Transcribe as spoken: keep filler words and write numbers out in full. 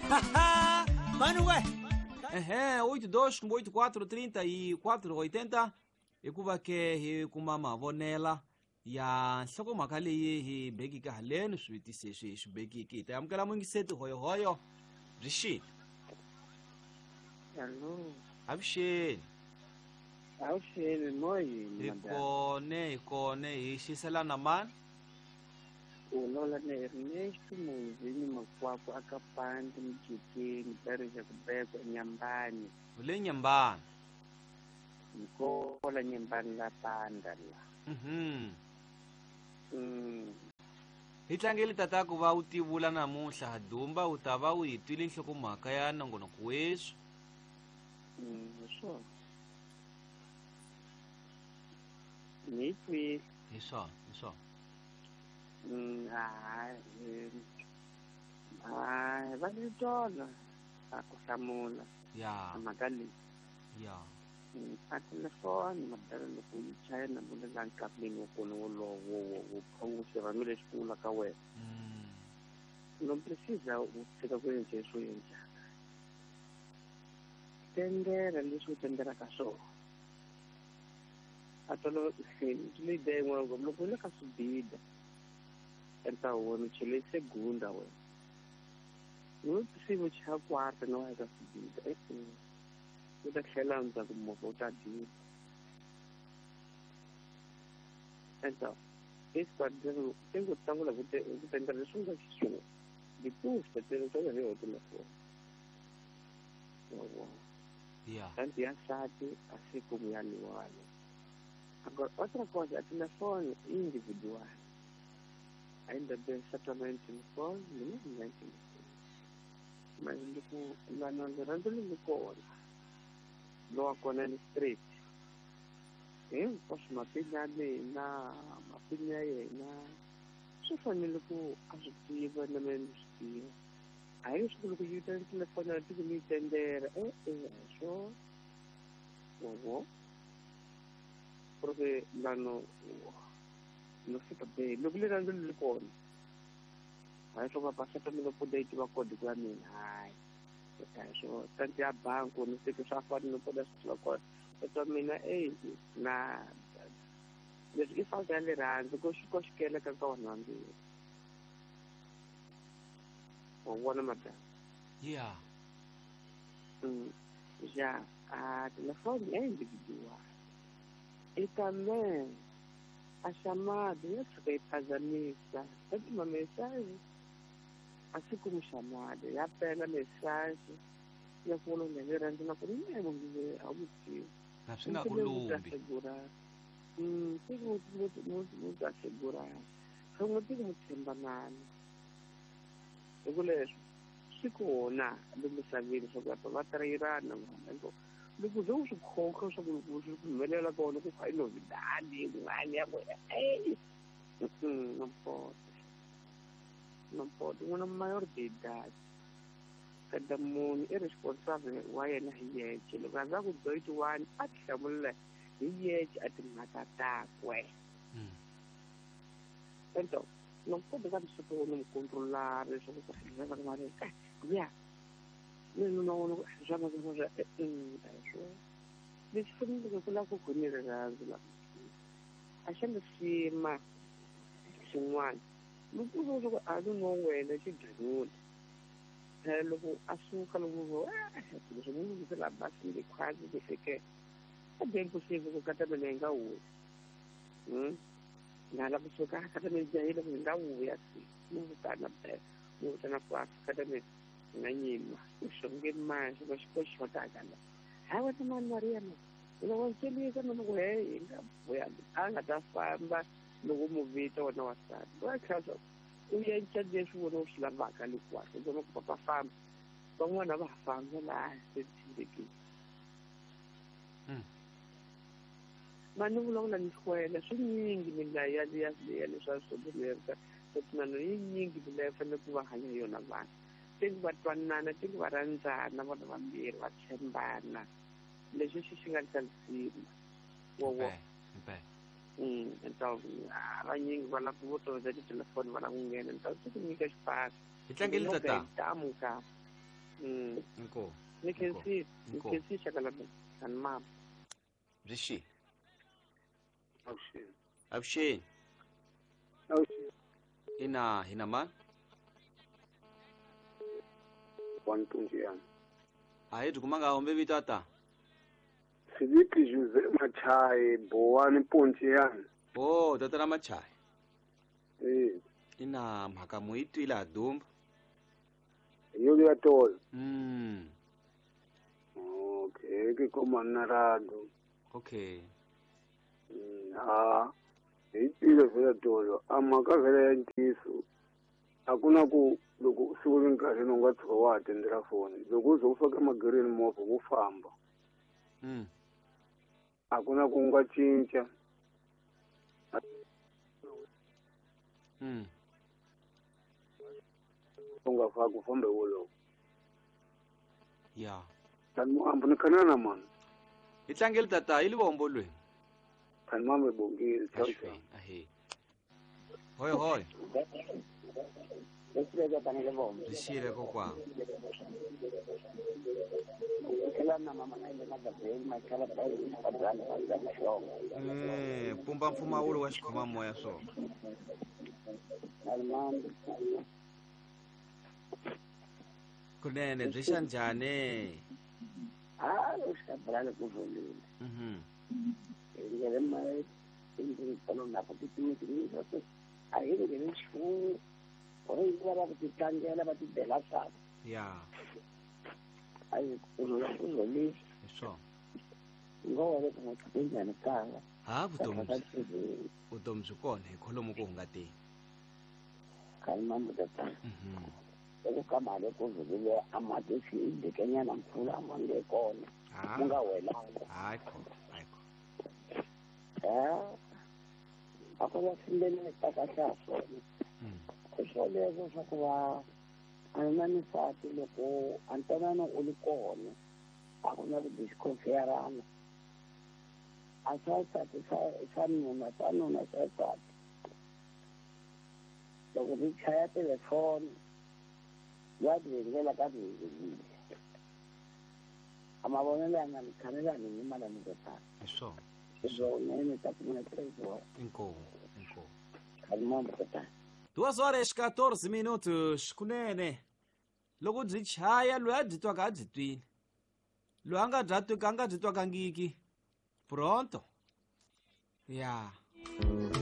Mano we. Ehe, oito dois oito quatro trinta e quatro oitenta hikuva ke hi kuma mavonela ya nhlokomhaka leyi hi bekiki haleni swivutiso leswi hi swi bekiki hi ta amukela muyingiseti hoyohoyo byi xile. Hello. Avuxeni. Avuxeni moyeni. Hi kone hi kone hi xiselana mani. U lola na Ernesto Munzini Makwakwa aka Pandi Mjikeni Bereja Kubekwa Nyambani. Ule Nyambani. Nkola Nyambani la Panda la. Mhm. Mm. Hi tlangeli tata ku va u tivula namuntlha Dumba u ta va u hi twile nhlokomhaka ya nongonoko weswi. Mm, swona. Ni twile. Hi swona, hi swona. Mm, hayi. Hayi, va ni tona a ku hlamula. Ya. Mhaka leyi. Ya. A telefoni madala loko yi chaya na vulela nkarhini wa kona wolowo wo wo wo xirhami lexi ku vula ka wena. No precisa u tshika ku endla leswi u endlaka. Tendera leswi u tenderaka swona. A tolo leyi ideya yin'wana ngopfu loko u le ka swibida enta wona chele segunda wena. No precisa chaya quarta na wa eka swibida e-e. U ta tlhela ndzhaku movha u ta dila. Então, esse quadro tem que estar lá, vou tentar leswi nga xiswona. Depois ta tela hi yona telefoni. Yeah. Tanto ya nsati a siku ya liwani. Agora, outra coisa, a telefone individual. Ainda bem, certamente telefone, não é telefone. Mas loko lana rirhandzu leri kona lowa kona ni straight. Hinkwaswo mapini ya mina mapini ya yena swi fanele ku a swi tiva na mina ni swi tiva. A hi leswaku loko yi ta telefoni ya tiko ni yi tendera e-e a hi swona. Wa porque lano no fica bem loko rirhandzu leri kona a hi swo va mina ku yi tiva kodi ya mina hayi a hi swona tanti ya bangi ni teke swa fana ni kota swi tiva kona kodwa mina eyi na leswi i falta ya rirhandzu ko xi ko xikeleka ka vanhu vambirhi. Wa vona madam? Yeah. Mm, já a telefone é individual. E também a chamada ya tshuka yi phazamisa tanti ma mensagem assim como chamada ya pela mensagem ya ku vona rirhandzu na ku ri munhu a wu tivi. Na swi nga ku lumbi. Mm, tiko mu ta assegurar. Swin'we tiko mu tshembanana. Hi ku leswi swi kona lomu misaveni swa ku va trayirana vanhu. Loko ze u swi khokha swa ku loko swi humelela kona ku kha i novidade yin'wana ya ku ey não pode. Não pode. N'wana maior de idade. Cada munhu i responsável wa yena hi yexe. Loko a za ku twenty-one a ti hlamula hi yexe a timhaka takwe. Então, não pode dar isso para não controlar, isso que ya. Não não não já não não já isso. Leswi faneleke ku lava ku khome rirhandzu la. A xa lisima xin'wana. Loko u loko a ri no wena xidlanyula. Phela loko a suka loko vo leswi munhu se la basile khwazi ku fike. A bem possível ku kata mina yi nga wuyi. Mm. Na la kusuka kata mina jahile ku nga wuya si. Mu vitana phela. Mu vitana kwa kata mina nga nyima. U xonge manje va xi xotaka la. Hayi wena mani Maria ma. Wena wa ncelisa mina ku hey nga vuya a nga ta famba loko mu vita wena wansati. Wa tlhela u endla leswi wena u swi lavaka hinkwaswo. U vona ku papa famba. Van'wana va ha famba laha se tshembekile. Mani vulavula ni hlwela swi nyingi milayo ya ya ya leswa swo swo yi nyingi milayo fanele ku va hanya hi yona vanhu. Tiko va twanana tiko va rhandzana vona vambirhi va tshembana. Leswi xi xi nga xa lisima. Wo wo. Mm, então vanyingi va lava ku vo tolovela titelefoni va lava ku nghena. Então swi ku nyika xipasi. Hi tlangeli tata. Tamuka. Mm. Inkomu. Ni khensi, ni Inkomu. khensi xaka la mina. Kani mama. Byi xi. Avuxeni. Avuxeni. Avuxeni. Ina hina mani? One Tunjian. A hi byi kumanga hombe vito ata. Filipe Jose Machai Boani Pontian. Oh, tata ra Machai. Eh, Ina mhaka mu yi twile ha dumba. yo ya tolo. Mm. Okay, ke koma na rado. Okay. Mm, ha. Hi twile vhela tolo. A mhaka vhela ya ntiyiso. A ku na ku loko siku ri nkarhi u nga tshuka wa ha tendela foni. Loko u ze u faka emagereni movha wo famba. Mm. A ku na ku nga cinca. Mm. U nga faki u fambe wolowo. Ya. Tani muambo ni khanana mani. Hi tlangeli tata yi livombo lweni. Tani mama bongile. Ciao ciao. Ahlweni. Ahe. Hoi hoi. Leswi fanele vona. Byi xile kokwana. Tlhela na mama na yena Gabriel Machala Bayi Bayi Mahlongo. Eh, pumba mpfumawulo wa xikhomamoya swona. Alimambi. Kunene byi xa njhani? Ah, ushabrale kuvulile. Mhm. Ngele ma indlu na ku titimiti a hi ngele nchumu. Ore va va ku titlangela va tibela swa. Ya. Ayi kuzula kuzolile. Hi swona. Ngoba ku muthu kaya. Ha vutomi byi vutomi byi kona hi kholomo ku hungateni. Kalimambo tata. Mhm. Loko ka mali ku vulile amatisi idekenyana mpfula mange kona. Ha. Ku nga welanga. Hayi kho, hayi kho. Eh. A ku va sindele ta kahle ha swona. Mm. Swoleswo swa ku va a na nsati loko a ntwanano u li kona a ku na ku disconfierana. A swa nsati swa swa nuna swa nuna swa nsati. Loko ri chaya telefoni ya vhengela ka vhengelile. A mavonelo ya nga ni khanelani ni mala ni tata. Hi swona. Swona ta ku na trezor. Inkomu, inkomu. Kalimambo tata. Duas horas quatorze minutos kunene. Loko byi chaya loyi a byi twaka a byi twile. Loyi a nga bya twika a nga byi twakangiki. Pronto. Ya.